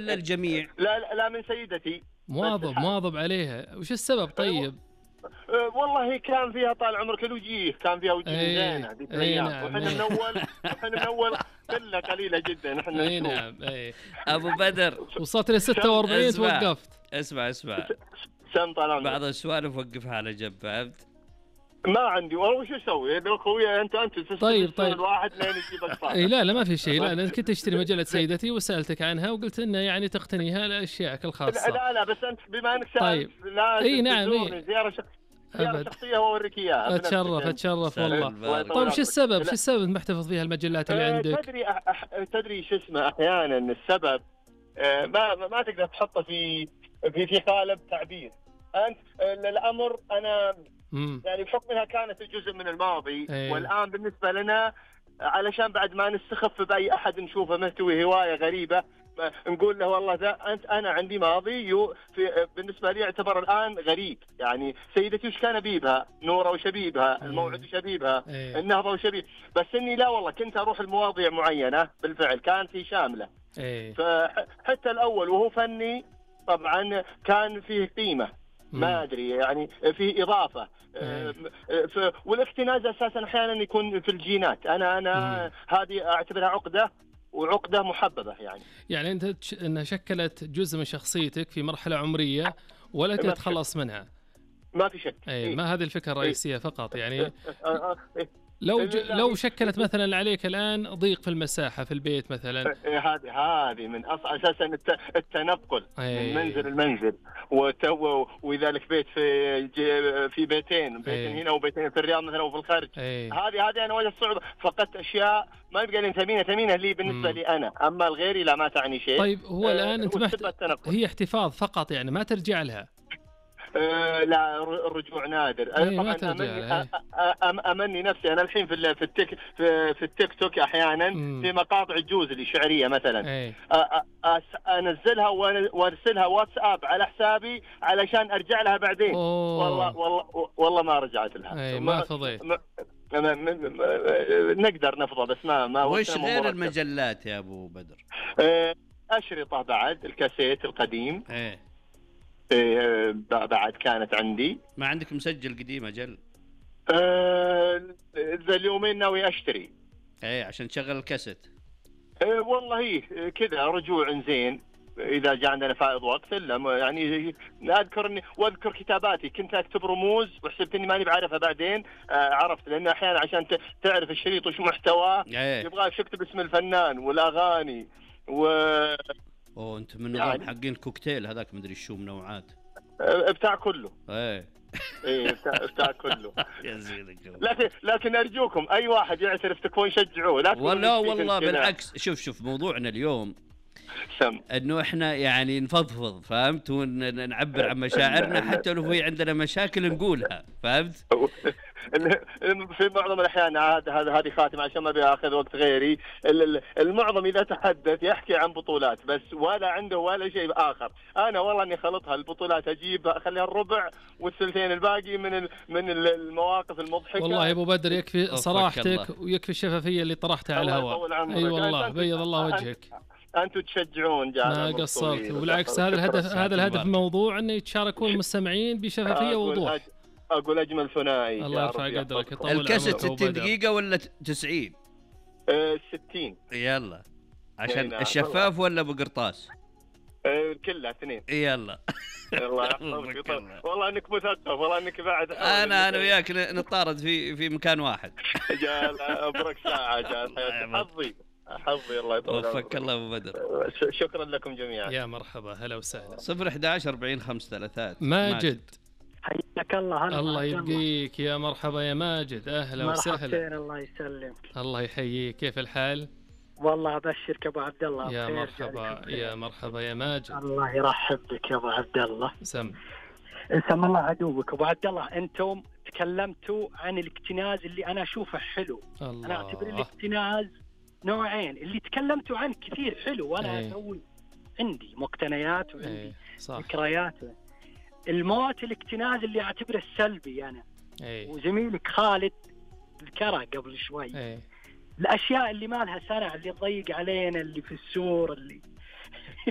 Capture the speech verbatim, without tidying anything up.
ولا الجميع؟ لا لا, لا من سيدتي. مواظب مواظب عليها. وش السبب طيب؟ أه والله كان فيها طال عمرك الوجيه، كان فيها وجيه زينه ذيك الايام. وحنا من اول وحنا من اول قله قليله جدا احنا. اي نعم. اي ابو بدر وصلت ل ستة وأربعين توقفت. اسمع اسمع سم طال بعض السوالف وقفها على جنب، فهمت؟ ما عندي والله. وش اسوي لو خويا انت انت طيب طيب الواحد لين يجيبك صار. اي لا لا ما في شيء. لا انا كنت اشتري مجله سيدتي وسالتك عنها وقلت انه يعني تقتنيها لاشيائك الخاصه. لا لا بس انت بما انك سالت طيب. لا اي نعم. إيه. زياره شخص زياره شخصيه واوريك اياها. اتشرف اتشرف والله. طيب شو السبب شو السبب محتفظ فيها المجلات اللي عندك؟ تدري أح... تدري شو اسمه احيانا السبب ما ما تقدر تحطه في في في قالب تعبير. انت الامر انا مم. يعني بحكم انها كانت جزء من الماضي. أيه. والان بالنسبه لنا علشان بعد ما نستخف باي احد نشوفه مهتوي هوايه غريبه نقول له والله ذا انت انا عندي ماضي في بالنسبه لي يعتبر الان غريب. يعني سيدتي وش كان ابيبها، نوره وشبيبها، الموعد وشبيبها، أيه. النهضه وشبيب. بس اني لا والله كنت اروح المواضيع معينه بالفعل كانت هي شامله. أيه. فحتى الاول وهو فني طبعا كان فيه قيمه. ما ادري يعني فيه اضافه. أه والاكتناز اساسا احيانا يكون في الجينات. انا انا هذه اعتبرها عقده وعقده محببه. يعني يعني انت انها شكلت جزء من شخصيتك في مرحله عمريه ولا تتخلص منها. ما في شك. اي ما هذه الفكره الرئيسيه فقط. يعني لو ج... لو شكلت مثلا عليك الان ضيق في المساحه في البيت مثلا. هذه هذه من اصل اساسا التنقل من منزل المنزل وتو وذلك بيت في في بيتين بيتين هنا وبيتين في الرياض مثلا وفي الخارج. هذه هذه انا واجهت صعوبه. فقدت اشياء ما يبقى لي ثمينه ثمينه لي بالنسبه لي انا، اما الغيري لا ما تعني شيء. طيب هو الان انت محت... هي احتفاظ فقط يعني ما ترجع لها. أه لا الرجوع نادر. أنا طبعا أمني, أم أمني نفسي أنا الحين في في التيك في, في التيك توك أحيانا مم. في مقاطع الجوز اللي شعرية مثلا أنزلها وأرسلها واتساب على حسابي علشان أرجع لها بعدين. أوه. والله والله والله ما رجعت لها. ما فضيت. نقدر نفضى بس ما ما وش غير المجلات يا أبو بدر؟ أشرطة بعد الكاسيت القديم. ايه إيه بعد كانت عندي. ما عندك مسجل قديم أجل؟ أه ذا اليومين ناوي أشتري. ايه عشان تشغل الكاسيت. أه والله كذا رجوع زين إذا جاء عندنا فائض وقت. إلا يعني أذكرني وأذكر كتاباتي كنت أكتب رموز وحسبت إني ماني بعرفها بعدين. أه عرفت لأن أحيانا عشان تعرف الشريط وش محتواه ايه. يبغاك تكتب اسم الفنان والأغاني و اوه انت من نظام يعني حقين الكوكتيل هذاك مدري شو منوعات بتاع كله. ايه ايه بتاع, بتاع كله. يا زينك. لكن لكن ارجوكم اي واحد يعترف تكون شجعوه. لا والله والله بالعكس. شوف شوف موضوعنا اليوم سم انه احنا يعني نفضفض فهمت ونعبر عن مشاعرنا حتى لو في عندنا مشاكل نقولها فهمت. في معظم الأحيان هذا هذا هذه خاتمة عشان ما بياخذ وقت غيري. المعظم إذا تحدث يحكي عن بطولات بس ولا عنده ولا شيء آخر. أنا والله إني خلطها البطولات أجيب أخليها الربع والثلثين الباقي من من المواقف المضحكة. والله يا أبو بدر يكفي صراحتك ويكفي الشفافية اللي طرحتها على الهواء. أي أيوة والله بيض الله وجهك. أنتم تشجعون ما قصرت وبالعكس هذا الهدف هذا الهدف الموضوع إنه يتشاركون المستمعين بشفافية ووضوح. أقول أجمل ثنائي. الله يرفع قدرك. الكاسيت ستين دقيقة ولا تسعين؟ أه ستين. يلا عشان الشفاف ولا بقرطاس؟ أه كلها اثنين. يلا. الله يحفظك. والله انك مثقف والله انك بعد. انا انا وياك نتطارد في في مكان واحد. جال ابرك ساعة جال حظي حظي. الله يطول عمرك. وفق الله ابو بدر. شكرا لكم جميعا. يا مرحبا هلا وسهلا. صفر إحدى عشر أربعين خمسة ثلاثات. ماجد حياك الله. الله يبقيك يا مرحبا يا ماجد. اهلا وسهلا. الله يسلمك. الله يحييك. كيف الحال؟ والله ابشرك ابو عبد الله. يا مرحبا يا مرحبا يا ماجد. الله يرحب بك يا ابو عبد الله. سم سم الله عدوك ابو عبد الله. انتم تكلمتوا عن الاكتناز اللي انا اشوفه حلو. الله. انا اعتبر الاكتناز نوعين. اللي تكلمتوا عنه كثير حلو وانا ايه. اسوي عندي مقتنيات وعندي ايه. ذكريات. الموت الاكتناز اللي اعتبره السلبي انا. ايه. وزميلك خالد ذكرها قبل شوي. ايه. الاشياء اللي ما لها سنة اللي تضيق علينا اللي في السور اللي